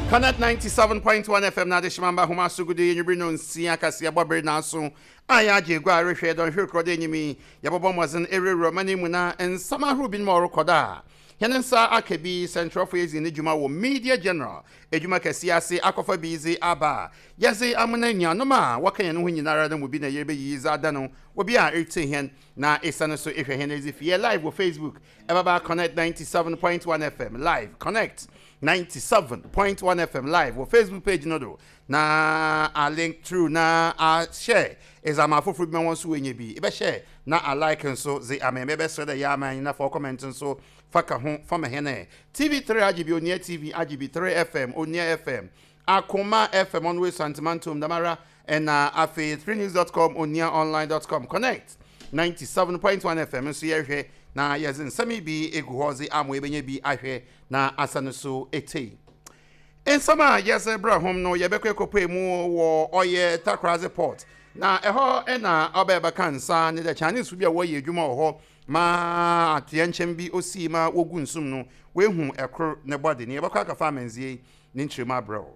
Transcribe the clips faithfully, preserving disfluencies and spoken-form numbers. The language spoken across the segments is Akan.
Connect ninety-seven point one F M na adehyemamba homa so gudu yɛnwubere no nsia kaseɛ bɔbere naaso a yɛagye egua a rehwɛ dɔnhwere korɔ dɛ enyim yi, yɛbɔbɔ mmɔdzen ɛwurawura ɔman yi mu na nsɛm ahorow binom a ɔrekɔ do a hɛn nsa aka bi. Sɛnkyerɛwfo yɛdzi ne dwuma wɔ Media General edwuma kɛseɛ ase akɔfa bi dze aba a yɛdze amena nuanom a wɔka yɛn ho nyinara no mu bi na yɛrebɛyiyi dze ada no obi a ɛretie hɛn na ɛsiane so ehwɛ hɛn edzi fie live wɔ Facebook, ɛbɛba Connect ninety-seven point one F M live, Connect ninety-seven point one F M live wɔ Facebook page no do, na a link through na a share ɛdze ama afoforɔ bi ma wɔn nso wɔnyɛ bi ɛbɛhyɛ na a like nso dze ama ɛbɛsrɛ dɛ yɛ ama na fa comment nso fa ka ho fa ma hɛn. T V three agye bi, Onua T V agye bi, three F M, Onua F M, Akoma F M ɔno wɔ Santimantom damara, ɛna afei three news dot com, onua online dot com, Connect ninety-seven point one F M nso yɛhwɛ na yɛdze nsɛm yi bi egu hɔ dze ama ebɛnya bi ahwɛ na asa no so etei. Nsɛm a yɛsɛ brɛ hom no, yɛbɛkɔ ekɔpue mu wɔ ɔyɛ Takoradi Port na ɛhɔ ɛna ɔbɛɛ bɛka nsa ne dɛ Chinese bi a wɔyɛ adwuma wɔ hɔ ma ateɛ nkyɛn bi osii ma wogu nsum no, woehu ɛkoro ne bɔde ne yɛbɛkɔ akɔfa amanzie ne nkyerɛmu abrɛ wo.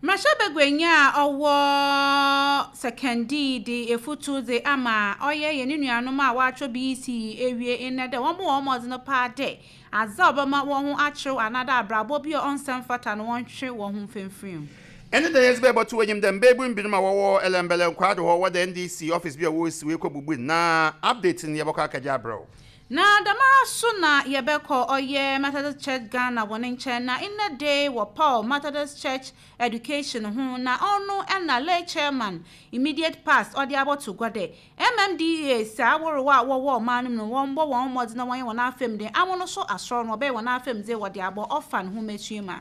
Mmarahyɛbaguanyi a ɔwɔ Sekondi de efutu dze ama ɔyɛ yɛn nuanom a wɔatwerɛ B E C E ewie nnɛ dɛ wɔn bɔ wɔn mmɔden paa dɛ adze a ɔbɛma wɔn ho akyerɛw anaadɛ abrabɔ bi a ɔnsɛm fata no, wɔntwe wɔn ho mfimfini. Ɛne dɛ yɛdze bɛbɔto w'enyim dɛ mbɛɛbu binom a wɔwɔ Ellembelle Nkwado hɔ, wɔda N D C office bi a wɔresi wɔ bubu na update no yɛbɛkɔ akagye abrɛ wo. Na damara so na yɛbɛkɔ ɔyɛ Methodist Church Ghana wɔ ne nkyɛn na nnɛ de wɔ Paul Methodist Church Education ho na ɔno ɛna lay chairman immediate past ɔde abɔto gua dɛ M M D A saa aworowa a wɔwɔ ɔman no mu no, wɔmbɔ wɔn mmɔden na wɔnyɛ wɔn afɛm de amono so asɔrɔ no wɔbɛyɛ wɔn afɛm de wɔde abɔ ɔfa ne ho mɛsua mu a.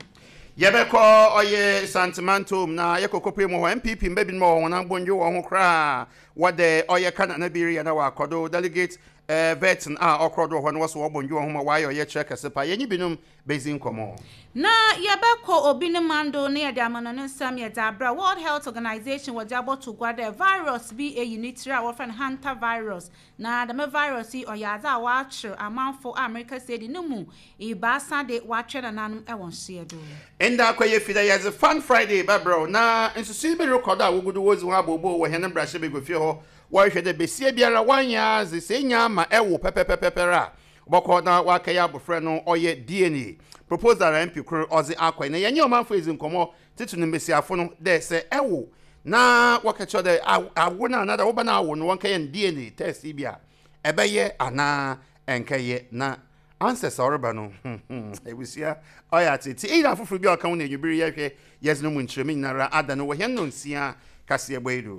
Yɛbɛkɔ ɔyɛ Santimantom na yɛkɔkɔpue mu hɔ, N P P mba binom a wɔn abɔndwe wɔn ho koraa wɔde ɔyɛ kanana bi reyɛ na wɔakɔdo delegate eh, vetting a ɔkorɔ do wɔ hɔ no, wɔso wɔbɔndwe wɔn ho ma wɔayɛ ɔyɛ kyerɛ kɛse pa. Yɛnye binom bɛzi nkɔmmɔ. Na yɛbɛkɔ obi ne mando ne yɛde ama no ne nsɛm yɛde abrɛ. World Health Organization wɔde abɔto gua dɛ virus bi eyi ne tiri a wɔfrɛ no hanta virus, na dɛm virus yi ɔyɛ adze a wɔakyerɛ amanfo a Amerika sɛ di ne mu ebaasa de wɔatwɛ nananom wɔ nhyia do. Ɛnda akɔyɛ fi dɛ yɛdze Fun Friday bɛbrɛw na nsusui bi rekɔ do a wogudu wodzi ho abooboo wɔ hɛn mmarahyɛ bagua hɔ. Wɔrehwɛ dɛ besia biara wanyɛ adze sɛ enya ama ɛwo pɛpɛpɛpɛpɛr a wɔbɛkɔ na wakɛyɛ abɔfra no ɔyɛ D N A proposal a M P koro ɔdze akɔ na yɛnyɛ ɔmanfo edzi nkɔmmɔ tete no, mbesiafo no dɛ sɛ ɛwo na wɔkɛkyerɛ dɛ awo no anaa dɛ woba no awo no, wɔnkɛyɛ no D N A test yi bi a, ɛbɛyɛ anaa ɛnkɛyɛ? Na answers a ɔreba no, ebusua, ɔyɛ atete eyi na afoforɔ bi a ɔka ho na enwibiri yɛhwɛ yɛdze no mu nkyerɛmu nyinara ada no wɔ hɛn no nsia kaseɛ bɔ yi do.